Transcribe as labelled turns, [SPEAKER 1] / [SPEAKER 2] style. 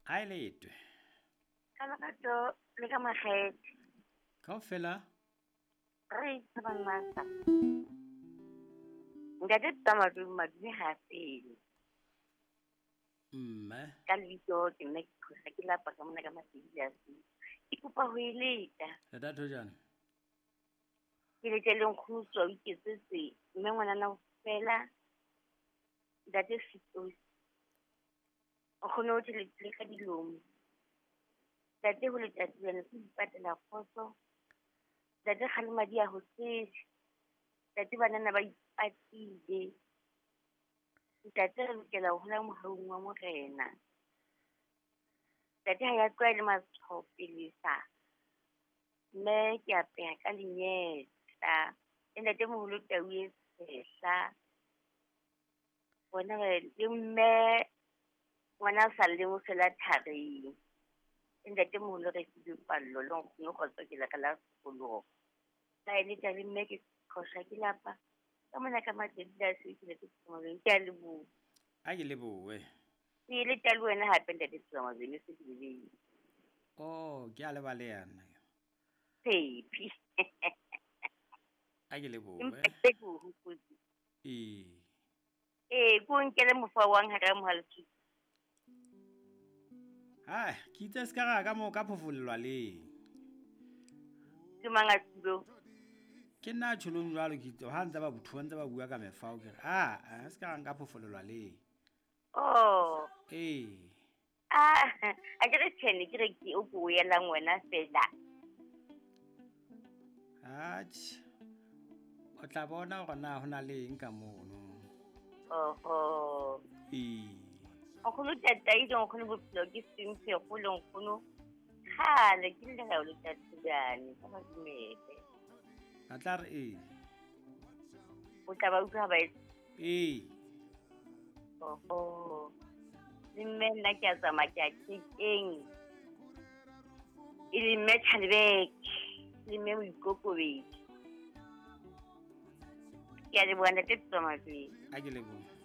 [SPEAKER 1] A e letwe.
[SPEAKER 2] Ka lerato le ka makgethe.
[SPEAKER 1] Kaofela.
[SPEAKER 2] Re tsebang masa. Ntate Tsamadu Madume ha fele.
[SPEAKER 1] Mme.
[SPEAKER 2] Ka lebitso ke nna ke khosa ke lapa ka mona ka Masedi a se. Ke kopa ho eleta.
[SPEAKER 1] Leta thojana.
[SPEAKER 2] Ke lete le nkgono o iketsetse mme ngwanana fela ntate Sitosi. Nkgono o thelekile ka dilomo. Ntate ho letsatsi lena ke ipatela kgotso. Ntate kgalema di a ho sesha. Ntate banana ba ipatile. Ntate re lokela ho hola mohaung wa Morena. Ntate ha ya tlwaele matshwao pelesa. Mme ke apeha ka lenyetla. Le ntate moholo tau e tshehla. Bona le mme ngwana a sa lleng o fela thareng. Le ntate moholo re filwe pallo le nkgono kgotso ke la ka la sekoloho. Ka eletsa le mme ke qhosha ke lapa. Ka mona ka matsatsi a se ke le ke ke a leboha.
[SPEAKER 1] A ke lebohe.
[SPEAKER 2] Ke eletsa le wena hape ntate Tsamazweni se ke lebile.
[SPEAKER 1] Oh, ke a leba le yena.
[SPEAKER 2] Tshepi.
[SPEAKER 1] A ke lebohe.
[SPEAKER 2] Empa ke o hopotse.
[SPEAKER 1] Ee.
[SPEAKER 2] Ee, ko nkele mofa wa hara mohaletsi.
[SPEAKER 1] Hai, ke itse se ka ra ka mo ka phofollwa le.
[SPEAKER 2] Ke mang a tsilo?
[SPEAKER 1] Ke nna tjholong jwalo ke itse ha ntse ba bothuwa ntse ba bua ka mefao ke re a se ka ra nka phofollwa le.
[SPEAKER 2] Oh.
[SPEAKER 1] Ee.
[SPEAKER 2] Ah, a ke re tshene ke re ke o ko yelang wena fela.
[SPEAKER 1] Atjhe. O tla bona hore na hona le eng ka mono.
[SPEAKER 2] Oho.
[SPEAKER 1] Ee.
[SPEAKER 2] Nkgono tataile nkgono bophelo ke sentse go le nkgono. Kgale ke le ga o le tatijane ka ba dumele.
[SPEAKER 1] A tla re ee.
[SPEAKER 2] O tla ba utlwa ba e.
[SPEAKER 1] Ee.
[SPEAKER 2] Oho. Le mme nna ke a tsamaya ke a kekeng. E le mme Tjhalebeke, le mme Moikokobedi. Ke a leboha ntate Tsamazweni.
[SPEAKER 1] A ke leboha.